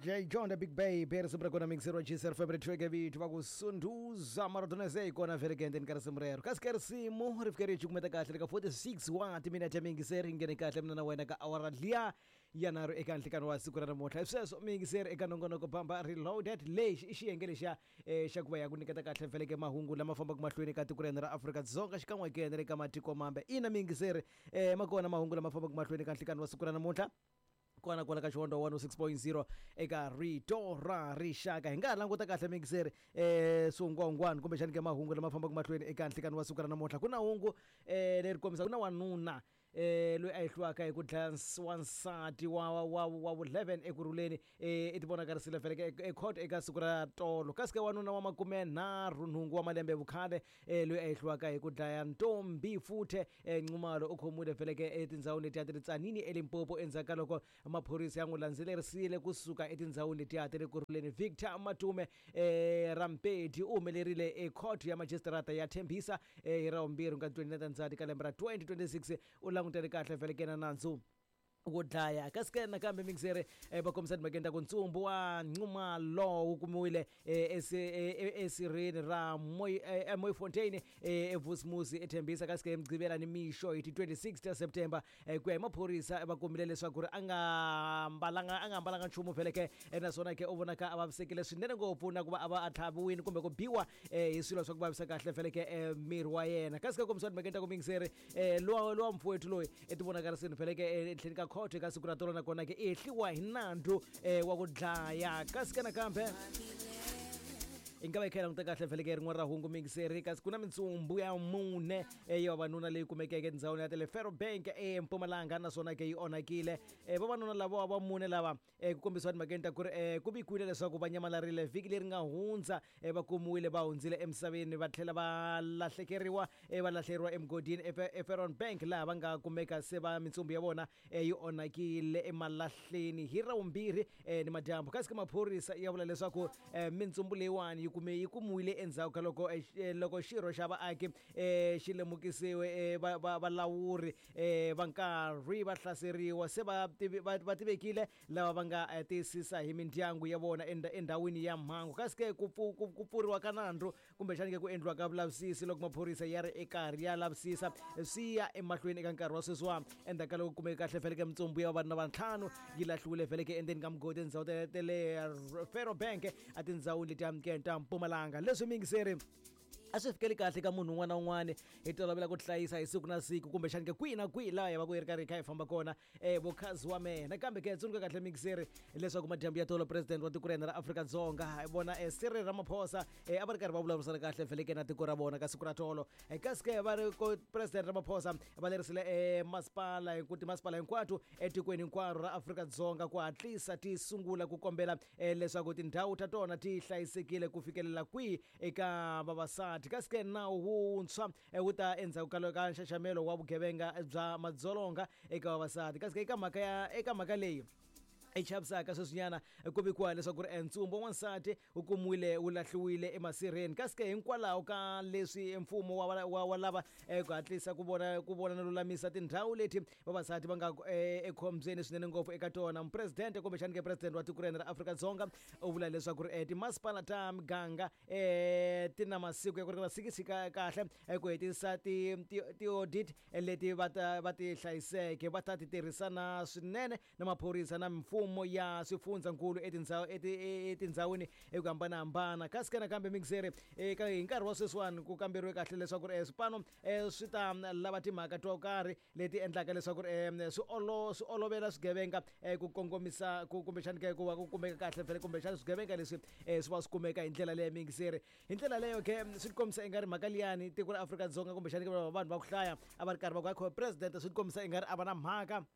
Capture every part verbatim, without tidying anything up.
D J John the Big Baby, risimu ra kona mixer wa G S R F M ri vito va ku Sunduza Maradona yi kona vhele ke endzeni ka risimu rero. Kasi ke risimu ri fike ri cukumeta kahle eka forty-six wa timinete mingiseri, yi nghene kahle mina na wena ka awara liya ya nharhu eka nhlikani wa siku ra namuntlha. Hi sweswo mingiseri eka nongonoko Bamba Reloaded, lexi i xiyenge lexiya eh, xa ku va ya ku nyiketa kahle vhele ke mahungu lama fambaka mahlweni ka tiko ra hina ra Afrika-Dzonga xikan'we ke na le ka matiko mambe. Ina mingiseri, eh, ma kona mahungu lama fambaka mahlweni ka nhlikani wa siku ra namuntlha kona kwala ka Xihondzo one oh six point zero eka Rito ra Rixaka. Hi nga ha languta kahle mingiseri eh swingwangwani kumbexani ke mahungu lama fambaka mahlweni eka nhlikani wa siku ra namuntlha. Ku na hungu eh leri kombisa ku na wanuna eh loyi a hehliwaka hi ku dlaya ns- wansati wa wa wa wa vu-eleven Ekurhuleni eh i tivonakarisile vhele ecourt eka siku ra tolo. Kasi ke wanuna wa makume nharhu nhungu wa malembe vukhale eh loyi a hehliwaka hi ku dlaya Ntombi Futhe eh Nxumalo u khomiwile vhele ke etindhawini letiya ti ri Tsanini eLimpopo endzhaku ka loko maphorisa ya n'wi landzelerisile kusuka etindhawini letiya ti le Kurhuleni. Victor Matume eh Rampedi u humelerile ecourt ya magistrata ya Tembisa eh hi ravumbirhi nga twenty-nine Ndzhati ka lembe ra twenty twenty-six. U langutele kahle vhele ke na nandzu wo dlaya. Kasi ke nakambe mingiseri, eh, va kombisa timhakeni ta ku ntsumbu wa Nxumalo wu kumiwile eh, esi- eh, eh, esirheni ra Mooi- eh, eh, Mooifontein eh, eVusimuzi eThembisa. Kasi ke Mugqivela ni mixo hi ti twenty-six ta September, eh, ku ya hi maphorisa, va kumile leswaku ri a nga mbalanga a nga ambalanga nchumu vhele ke eh, naswona ke u vonaka a vavisekile swinene ngopfu na ku va a va a tlhaviwile kumbe ku biwa eh, hi swilo swa ku vavisa kahle vhele ke eh, miri wa yena. Kasi ke kombisiwa timhakeni ta ku mingiseri, eh, luwa luwa mfowethu loyi i tivonakarisini vhele ke eh, etlheni ka court eka siku ra tolo, nakona ke i hehliwa hi nandzu eh, wa ku dlaya. Kasi ke nakambe hi nga va hi kha hi languta kahle vhele ke rin'wana ra hungu mingiseri. Kasi ku na mintsumbu ya mune eh, ya vavanuna leyi kumekeke etindhawini ya tele Ferrobank eMpumalanga, naswona ke yi onhakile. eh, vavanuna lava va mune lava eh, ku kombisiwa timhakeni ta ku ri eh, ku vikiwile leswaku va nyamalarile vhiki leri nga hundza, eh, va kumiwile va hundzile emisaveni, va tlhela va lahlekeriwa eh, va lahleriwa emugodini eFerron Bank, laha va nga kumeka se va mintsumbu ya vona eh, yi onhakile emalahleni hi ravumbirhi eh, ni madyambu. Kasi ke maphorisa ya vula leswaku eh, mintsumbu leyiwani yi kume yi kumiwile endzhaku ka loko eh, eh, loko xirho xa vaaki eh, xi lemukisiwe eh, va- va- valawuri eh, va nkarhi va hlaseriwa se va tivi- va va tivekile lava va nga eh, tiyisisa hi mindyangu ya vona enda- endhawini ya mhangu. Kasi ke ku pfu- ku ku pfuriwa ka nandzu kumbexani ke ku endliwa ka vulavisisi loko maphorisa ya ri ekarhi ya lavisisa swi ya emahlweni eka nkarhi wa sweswiwa endzhaku ka loko kumeke kahle vhele ke mintsumbu ya vavanuna va ntlhanu yi lahliwile vhele ke endzeni ka mugodi etindhawu ta ta le Ferrobank etindhawini letiya ke ta Mpumalanga. Leswi mingiseri a swi fikeli kahle ka munhu un'wana na un'wana hi tolovela ku hlayisa hi siku na siku kumbexani ke kwihi na kwihi laha hi va ku hi ri karhi hi kha hi famba kona um vokhazi wa mehe. Nakambe ke tsundzuka kahle mingiseri leswaku madyambu ya tolo president wa tiko ra hina ra Afrika-Dzonga hi vona um Cyril Ramaphosa um a va ri karhi va vulavurisana kahle vhele ke na tiko ra vona ka siku ra tolo. Eh, kasi ke va ri ko President Ramaphosa va lerisile um masipala ku timasipala hinkwato etikweni hinkwaro ra Afrika-Dzonga ku hatlisa ti sungula ku kombela um leswaku tindhawu ta tona ti hlayisekile ku fikelela kwihi eka vavasati. Kasi ke nawu wuntshwa eh, wu ta endzhaku ka ka nxaxamelo wa vugevenga bya madzolonga eka vavasati. Kasi ke eka mhaka ya eka mhaka leyi i chavisaka sweswinyana, ku vikiwa leswaku ri ntsumbu wa wansati wu kumiwile wu lahliwile emasirheni. Kasi ke hinkwalaho ka leswi mfumo wa, wa, wa lava eh, ku hatlisa ku vona ku vona no lulamisa tindhawu leti vavasati va nga eh, ekhombyeni swinene ngopfu eka tona, mupresidente kumbexani ke president wa tiko ra hina ra Afrika-Dzonga u vula leswaku ri eh, timasipala ta miganga eh, ti na masiku ya ku ringana six ka kahle eh, ku hetisa ti ti ti-audit eh, leti va ta va ti hlayiseke, va ta ti tirhisana swinene na maphorisa na mimfumo ya swifundzankulu etindhawu eti- etindhawini hi ku hambanahambana. Kasi ke nakambe mixere eka hi nkarhi wa sweswiwani ku kamberiwe kahle leswaku ri eh, swipano eh, swi ta lava timhaka to karhi leti endlaka leswaku ri eh, swi olo swi olovela swigevenga eh, ku kongomisa ku kumbexani ke ku va ku kumeka kahle vhele kumbexani swigevenga leswi eh, swi va swi kumeka hi ndlela leyo mingiseri. Hi ndlela leyo ke swi tikombisa ingari mhaka liyani tiko ra Afrika-Dzonga kumbexani ke vanhu va ku hlaya a va ri karhi va ku akho president swi tikombisa ingari a va na mhaka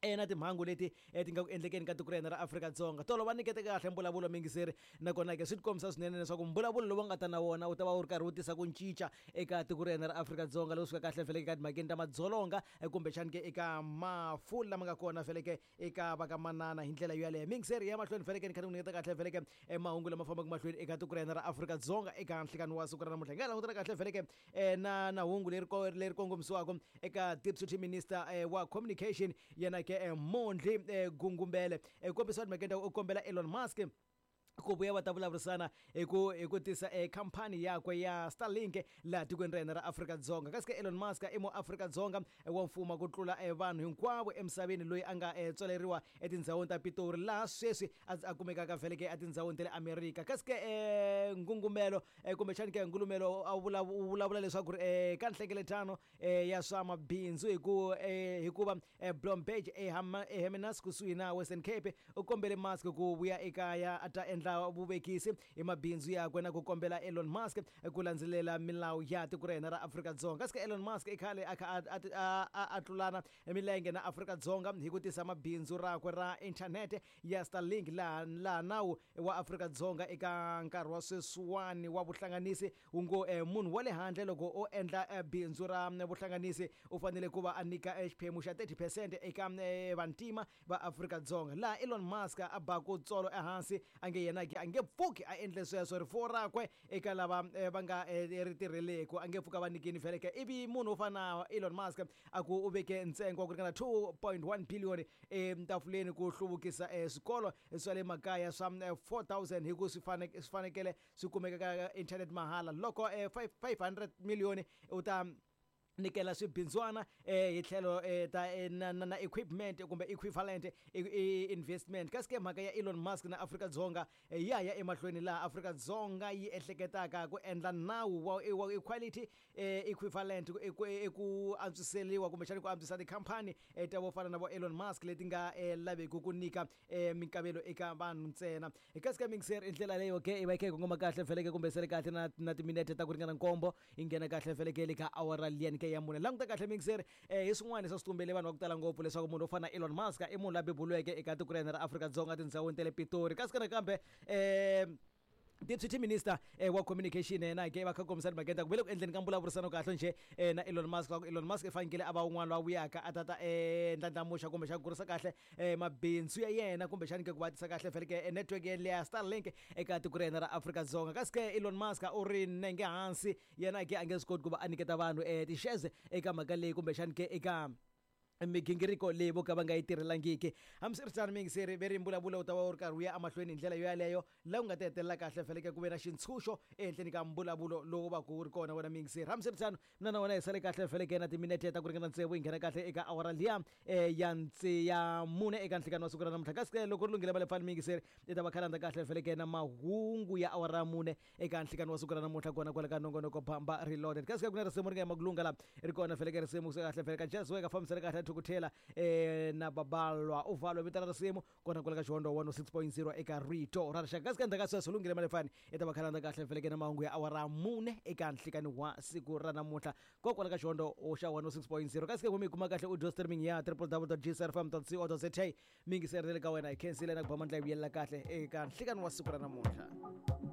eh, na timhangu leti eh, ti nga ku endlekeni ka tiko ra hina ra Afrika-Dzonga. Tolo va nyikete kahle mbulavulo mingiseri, nakona ke swi tikombisa swinene leswaku mbulavulo lowu nga ta na wona wu ta va wu ri karhi wu tisa ku cinca eka tiko ra hina ra Afrika-Dzonga loko swi fika kahle vhele ka timhakeni ta madzolonga eh, kumbexani ke eka mafu lama nga kona vhele ke eka va ka manana hi ndlela yoyaleyo. Mingiseri ya mahlweni vhele ke ni kha ni ku nyiketa kahle vhele ke eh, mahungu lama fambaka mahlweni eka tiko ra hina ra Afrika-Dzonga eka nhlikani wa siku ra namuntlha. Hi nga langutela kahle vhele ke eh, na na hungu leri ko- leri kongomisiwaka eka deputy minister eh, wa communication yena ke ke Mondli Gungumbele kombisa timhaka u kombela Elon Musk ku vuya va ta vulavurisana hi ku hi ku tisa e khampani yakwe ya Starlink laha tikweni ra hina ra Afrika-Dzonga. Kasi ke Elon Musk i muAfrika-Dzonga wa mfumo ku tlula vanhu hinkwavo emisaveni loyi a nga tswaleriwa etindhawini ta Pitori laha sweswi a kumekaka vhele ke etindhawini ta le Amerika. Kasi ke ngungumelo kumbexani ke ngulumelo a vulavula leswaku ri ka nhlengeletano ya swa mabindzu hi ku hikuva Bloomberg eHermanus kusuhi na Western Cape u kombele Musk ku vuya ekaya a ta endla vuvekisi hi mabindzu yakwe na ku kombela Elon Musk ku landzelela milawu ya tiko ra hina ra Afrika-Dzonga. Kasi ke Elon Musk i khale a kha a tlulana milenge na Afrika-Dzonga hi ku tisa mabindzu rakwe ra inthanete ya Starlink laha laha nawu wa Afrika-Dzonga eka nkarhi wa sweswiwani wa vuhlanganisi wu ngo munhu wa le handle loko o endla bindzu ra vuhlanganisi u fanele ku va a nyika xiphemu xa thirty percent eka vantima va Afrika-Dzonga. Laha Elon Musk a baku tsolo ehansi a nge yena ke a nge pfuki a endle sweswo rifuwo rakwe eka lava va nga ri tirheleku a nge pfuka va nyikini vhele ke. Ivi munhu wo fana na Elon Musk a ku u veke ntsengo wa ku ringana two point one billion etafuleni ku hluvukisa swikolo swa le makaya swa four thousand hi ku swi fanekele swi kumeka ka internet mahala loko five hundred million u ta nyikela swibindzwana hi tlhelo ta na na equipment kumbe equivalent investment. Kasi ke mhaka ya Elon Musk na Afrika-Dzonga ya ya emahlweni laha Afrika-Dzonga yi ehleketaka ku endla nawu wa equality equivalent ku antswiseriwa kumbexana ku antswisa tikhampani ta vo fana na vo Elon Musk leti nga laveki ku nyika minkavelo eka vanhu ntsena. Kasi ka mixer i ndlela leyo ke i va yi kha yi kongoma kahle vheleke kumbe sele kahle na na timinete ta ku ringana nkombo yi nghena kahle vheleke le ka awara liyani ke ya mune. Languta kahle mixer hi swin'wana swa switumbele vanhu va ku tala ngopfu leswaku munhu wo fana na Elon Musk i munhu la beburiweke eka tiko ra hina ra Afrika-Dzonga tindhawini ta le Pitori. Kasi nakambe Deputy Minister wa Communication yena ke va kha kombisa timhaka ta ku ve le ku endleni ka mbulavurisano kahle nje na Elon Musk. Elon Musk i fanekele a va un'wana loyi a vuyaka a ta ta ndlandlamuxa kumbe xa ku kurisa kahle mabindzu ya yena kumbexani ke ku va tisa kahle vhele ke network ya Starlink eka tiko ra hina ra Afrika-Dzonga. Kasi ke Elon Musk u ri nenge hansi yena ke a nge swi koti ku va a nyiketa vanhu ti-shares eka mhaka leyi kumbexani ke eka migingiriko leyi vo ka va nga yi tirhelangiki. Hambiswiritano miyingiseri ve ri mbulavulo wu ta va wu ri karhi wu ya emahlweni hi ndlela yo yaleyo laha ku nga ta hetelela kahle vhele ke ku ve na xintshunxo ehenhleni ka mbulavulo lowu va ku wu ri kona wena miyingiseri. Hambiswiritano mina na wena hi sale kahle vhele ke na timinete ta ku ringana tsevu hi nghena kahle eka awara liya ya ntse ya mune eka nhlikani wa siku ra namuntlha. Kasi ke loko ri lunghile va le pfani miyingiseri i ta va khalanda kahle vhele ke na mahungu ya awara ya mune eka nhlikani wa siku ra namuntlha kona kwala ka nongonoko Bamba Reloaded. Kasi ke ku na risimu ri nga yima ku lunga laha ri kona vhele ke risimu kahle vhele ka Jazz Weka fambisana kahle Thukuthela na Babalwa uvalo vito ra risimu kona kwala ka Xihondzo one oh six point zero eka Rito ra Rixaka. Kasi ka ndzhaku ka sweswo lunghile malefani i ta va khalanda kahle vhele ke na mahungu ya awara mune eka nhlikani wa siku ra namuntlha kokwala ka Xihondzo xa one oh six point zero. Kasi ke mi kuma kahle audio streaming ya w w w dot g s r f m dot co dot za. Mingiseri le ka wena hi khensile na ku ba mandla yi vuyelela kahle eka nhlikani wa siku ra namuntlha.